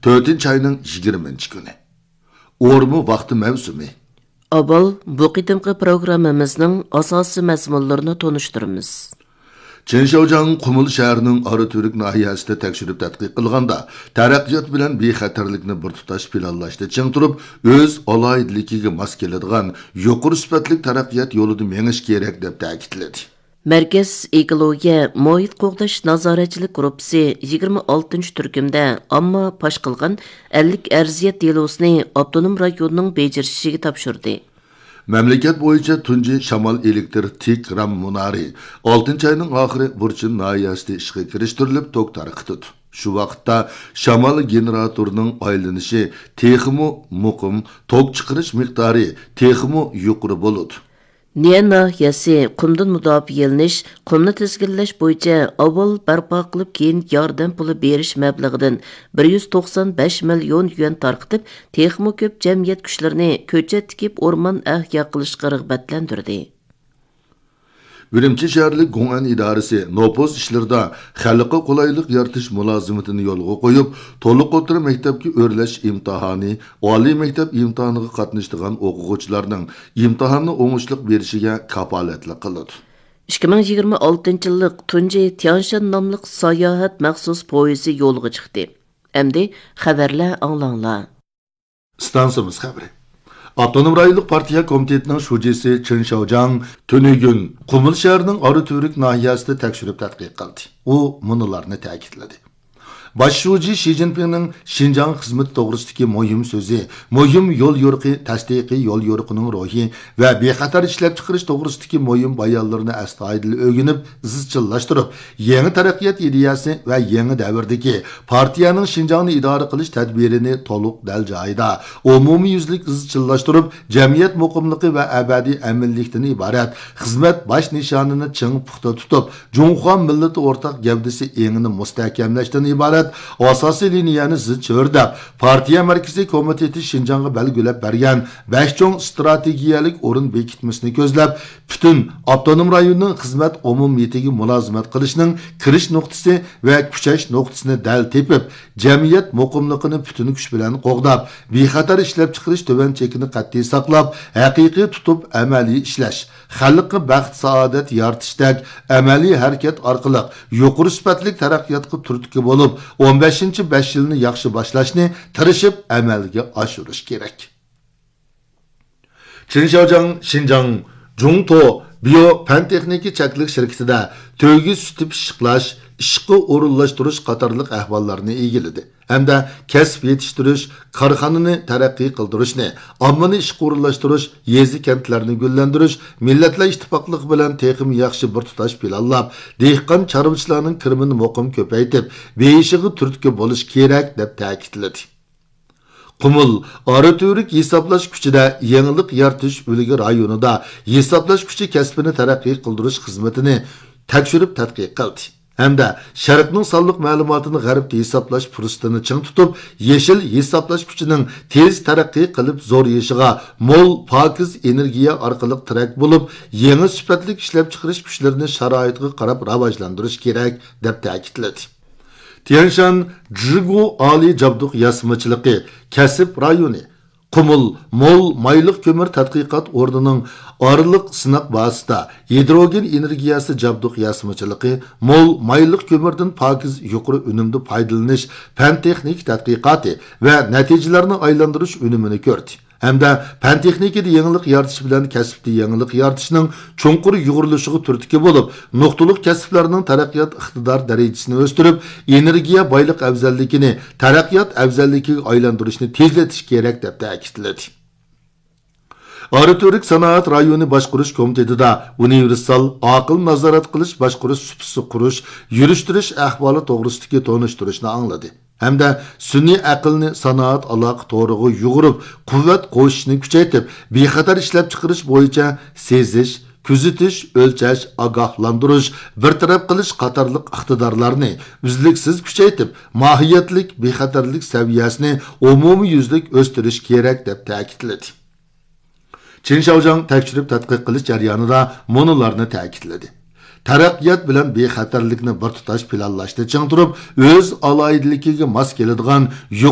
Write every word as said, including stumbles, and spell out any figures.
تۆتىنچى ئاينىڭ يىگىرمىنچى كۈنى. ئورما ۋاقتى مەۋسۇمى. ئاۋۋال بۇ قېتىمقى پروگراممىمىزنىڭ ئاساسىي مەزمۇنلىرىنى تونۇشتۇرىمىز. چېن شياۋجياڭ قۇمۇل شەھىرىنىڭ ئاراتۈرك ناھىيەسىدە تەكشۈرۈپ تەتقىق قىلغاندا، تەرەققىيات بىلەن بىخەتەرلىكنى بىر تۇتاش پىلانلاشتا چىڭ تۇرۇپ، ئۆز ئالاھىدىلىكىگە ماس كېلىدىغان يۇقىرى سۈپەتلىك تەرەققىيات يولىدا مېڭىش كېرەك، دەپ تەكىتلىدى. مەركەز ئېكولوگىيە، مۇھىت قوغداش نازارەتچىلىك گۇرۇپپىسى يىگىرمە ئالتىنچى تۈركۈمدە ئامما پاش قىلغان ئەللىك ئەرزىيەت دېلوسىنى ئاپتونوم رايوننىڭ بېجىرىشىگە تاپشۇردى. مەملىكەت بويىچە تۇنجى شامال ئېلېكتر تىك رام مۇنارى ئالتىنچى ئاينىڭ ئاخىرى بۇرچىن ناھىيەسىدە ئىشقا كىرىشتۈرۈلۈپ، توك تارقىتىدۇ. شۇ ۋاقىتتا شامال گېنېراتورىنىڭ ئايلىنىشى تېخىمۇ مۇقىم، توك چىقىرىش مىقدارى تېخىمۇ يۇقىرى بولىدۇ. نىيە ناھىيەسى قۇمدىن مۇداپىئەلىنىش، قۇمنى تىزگىنلەش بويىچە ئاۋۋال بەرپا قىلىپ، كېيىن ياردەم پۇلى بېرىش مەبلىغىدىن بىر يۈز توقسان بەش مىليون يۈەن تارقىتىپ، تېخىمۇ كۆپ جەمئىيەت كۈچلىرىنى كۆچەت تىكىپ، ئورمان ئەھيا قىلىشقا رىغبەتلەندۈردى. ئۈرۈمچى شەھەرلىك گوڭئەن ئىدارىسى نوپۇس ئىشلىرىدا خەلققە قولايلىق يارىتىش مۇلازىمىتىنى يولغا قويۇپ، تولۇق ئوتتۇرا مەكتەپكە ئۆرلەش ئىمتىھانى، ئالىي مەكتەپ ئىمتىھانىغا قاتنىشىدىغان ئوقۇغۇچىلارنىڭ ئىمتىھاننى ئوڭۇشلۇق بېرىشىگە كاپالەتلىك قىلىدۇ. ئىككى مىڭ يىگىرمە ئالتىنچى يىللىق تۇنجى تيانشان ناملىق ساياھەت مەخسۇس پويىزى يولغا چىقتى. ئەمدى خەۋەرلەر ئاڭلاڭلار. ئىستانسىمىز خەۋىرى. ئاپتونوم رايونلۇق پارتىيە كومىتېتىنىڭ شۇجىسى چېن شياۋجياڭ تۈنۈگۈن قۇمۇل شەھىرىنىڭ ئاراتۈرك ناھىيەسىدە تەكشۈرۈپ تەتقىق قىلدى. ئۇ مۇنۇلارنى تەكىتلىدى. باش شۇجى شى جىنپىڭنىڭ شىنجاڭ خىزمىتى توغرىسىدىكى مۇھىم سۆزى، مۇھىم يول يورۇقى، تەستىقىي يول يورۇقىنىڭ روھى ۋە بىخەتەر ئىشلەپچىقىرىش توغرىسىدىكى مۇھىم بايانلىرىنى ئەستايىدىل ئۆگىنىپ، ئىزچىللاشتۇرۇپ، يېڭى تەرەققىيات ئىدىيەسى ۋە يېڭى دەۋردىكى پارتىيەنىڭ شىنجاڭنى ئىدارە قىلىش تەدبىرىنى تولۇق دەل جايىدا، ئومۇميۈزلۈك ئىزچىللاشتۇرۇپ، جەمئىيەت مۇقىملىقى ۋە ئەبەدىي ئەمىنلىكتىن ئىبارەت خىزمەت باش نىشانىنى چىڭ پۇختا تۇتۇپ، جۇڭخۇا مىللىتى ئورتاق گەۋدىسى ئېڭىنى مۇستەھكەملەشتىن ئىبارەت ئاساسىي لىنىيەنى زىچ ئۆرلەپ، پارتىيە مەركىزىي كومىتېتى شىنجاڭغا بەلگىلەپ بەرگەن بەش چوڭ ئىستراتېگىيەلىك ئورۇن بېكىتمىسىنى كۆزلەپ، پۈتۈن ئاپتونوم رايوننىڭ خىزمەت ئومۇمىيىتىگە مۇلازىمەت قىلىشنىڭ كىرىش نۇقتىسى ۋە كۈچەش نۇقتىسىنى دەل تېپىپ، جەمئىيەت مۇقىملىقىنى پۈتۈن كۈچ بىلەن قوغداپ، بىخەتەر ئىشلەپچىقىرىش تۆۋەن چېكىنى قەتئىي ساقلاپ، ھەقىقىي تۇتۇپ ئەمەلىي ئىشلەش، خەلققە بەخت-سائادەت يارىتىشتەك ئەمەلىي ھەرىكەت ئارقىلىق يۇقىرى سۈپەتلىك تەرەققىياتقا تۈرتكە بولۇپ، ئون بەشىنچى بەش يىلنى ياخشى باشلاشنى تىرىشىپ ئەمەلگە ئاشۇرۇش كېرەك. چېن شياۋجياڭ شىنجاڭ جۇڭتو بىيو پەن تېخنىكا چەكلىك شىركىتىدە تۆگە سۈتى پىششىقلاش، ئىشقا ئورۇنلاشتۇرۇش قاتارلىق ئەھۋاللارنى ئىگىلىدى ھەمدە كەسىپ يېتىشتۈرۈش، كارخانىنى تەرەققىي قىلدۇرۇشنى، ئاممىنى ئىشقا ئورۇنلاشتۇرۇش، يېزا-كەنتلەرنى گۈللەندۈرۈش، مىللەتلەر ئىتتىپاقلىقى بىلەن تېخىمۇ ياخشى بىر تۇتاش پىلانلاپ، دېھقان-چارۋىچىلارنىڭ كىرىمىنى مۇقىم كۆپەيتىپ، بېيىشىغا تۈرتكە بولۇش كېرەك، دەپ تەكىتلىدى. قۇمۇل ئاراتۈرك ھېسابلاش كۈچىدە يېڭىلىق يارىتىش ئۈلگە رايونىدا ھېسابلاش كۈچى كەسپىنى تەرەققىي قىلدۇرۇش خىزمىتىنى تەكشۈرۈپ تەتقىق قىلدى ھەمدە شەرقنىڭ سانلىق مەلۇماتىنى غەربتە ھېسابلاش پۇرسىتىنى چىڭ تۇتۇپ، يېشىل ھېسابلاش كۈچىنىڭ تېز تەرەققىي قىلىپ زورىيىشىغا مول، پاكىز ئېنېرگىيە ئارقىلىق تىرەك بولۇپ، يېڭى سۈپەتلىك ئىشلەپچىقىرىش كۈچلىرىنى شارائىتقا قاراپ راۋاجلاندۇرۇش كېرەك، دەپ تەكىتلىدى. تيەنشان جىگۇ ئالىي جابدۇق ياسىمىچىلىقى كەسىپ رايونى، قۇمۇل مول مايلىق كۆمۈر تەتقىقات ئورنىنىڭ ئارىلىق سىناق بازىسىدا ھىدروگېن ئېنېرگىيەسى جابدۇق ياسىمىچىلىقى، مول مايلىق كۆمۈردىن پاكىز يۇقىرى ئۈنۈمدە پايدىلىنىش پەن-تېخنىكا تەتقىقاتى ۋە نەتىجىلەرنى ئايلاندۇرۇش ئۈنۈمىنى كۆردى. ھەمدە پەن-تېخنىكىدا يېڭىلىق يارىتىش بىلەن كەسىپتە يېڭىلىق يارىتىشنىڭ چوڭقۇر يۇغۇرۇلۇشىغا تۈرتكە بولۇپ، نۇقتىلىق كەسىپلەرنىڭ تەرەققىيات ئىقتىدار دەرىجىسىنى ئۆستۈرۈپ، ئېنېرگىيە بايلىق ئەۋزەللىكىنى تەرەققىيات ئەۋزەللىكىگە ئايلاندۇرۇشنى تېزلىتىش كېرەك، دەپ تەكىتلىدى. ئاراتۈرك سانائەت رايونى باشقۇرۇش كومىتېتىدا ئۇنىۋېرسال ئاقىل نازارەت قىلىش باشقۇرۇش سۇپىسى قۇرۇش، يۈرۈشتۈرۈش ئەھۋالى توغرىسىدىكى تونۇشتۇرۇشنى ئاڭلىدى. ھەمدە سۈنئىي ئەقىلنى سانائەت ئالاقە تورىغا يۇغۇرۇپ، قۇۋۋەت قوشۇشنى كۈچەيتىپ، بىخەتەر ئىشلەپچىقىرىش بويىچە سېزىش، كۆزىتىش، ئۆلچەش، ئاگاھلاندۇرۇش، بىر تەرەپ قىلىش قاتارلىق ئىقتىدارلارنى ئۈزلۈكسىز كۈچەيتىپ، ماھىيەتلىك بىخەتەرلىك سەۋىيەسىنى ئومۇميۈزلۈك ئۆستۈرۈش كېرەك، دەپ تەكىتلىدى. چېن شياۋجياڭ تەكشۈرۈپ تەتقىق قىلىش جەريانىدا مۇنۇلارنى تەكىتلىدى. تەرەققىيات بىلەن بىخەتەرلىكنى بىر تۇتاش پىلانلاشتا چىڭ تۇرۇپ، ئۆز ئالاھىدىلىكىگە ماس كېلىدىغان يۇقىرى